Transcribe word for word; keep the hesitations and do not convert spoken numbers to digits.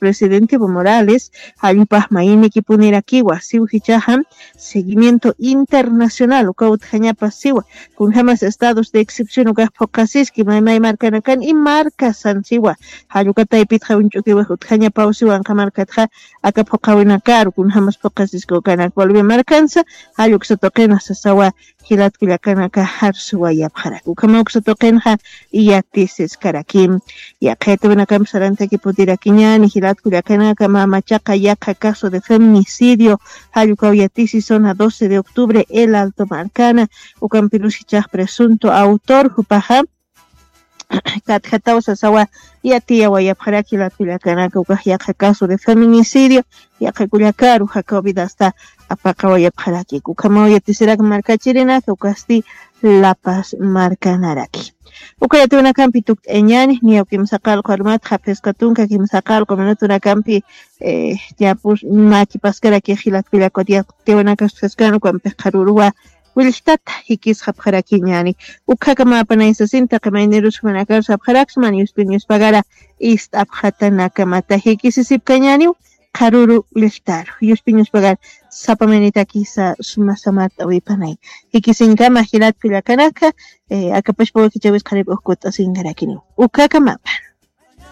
presidente Evo Morales, jallpax mayinikipunirakiwa siw jichaxa seguimiento internacional uka utjañapa siwa, kunjamas estados de excepción ukax phuqasiski maymay markanakan y markasan siwa. Jallukataypitxa uñch'ukiwix utjañapaw siwanqa markatxa aka phuqawinakaru kunjamas phuqasiski ukanak Bolivia markansa. Jalluksa tuqinxa sasawa jilatkullakanaka jarsuwayapxarak ukhama uksa tuqinxa. Yatisiskaraki yaqhayatiwinakampi sarantakiputirakiñani jilatkullakanaka mamachaqa yaqha caso de feminicidio jallukaw yatisi zona doce de octubre el alto markana ukampirus jichax presunto autor jupaxa katjataw sasawa yatiyawayapxaraki jilatkullakanaka ukax yaqha caso de feminicidio yaqha kullakaru jakaw vidasta apaqawayapxaraki ukhamaw yatisirak markachirinaka ukasti lapas markanaraki. Uka yatiwinakampi tukt'ayañani niyaw kimsa qallqu armatxa phisqa tunka kimsa qallqu minutunakampi yapus makipaskaraki jilatkullakut yatiwinakas phisqan ukampi qharuruwa willtata jikisqapxarakiñani. Ukhakama apanaysasin taqi maynirus jumanakar sapxaraksman yuspiñuspagara ist'apxatanaka mata jikisisipkañaniw qharuru willtaru yuspiñuspagar sapa maynitakisa suma samart'awipanay jikisinkama jilatkullakanaka. Akapashpawakichawis qharip ujkut'asinkarakiniw ukhakamapa.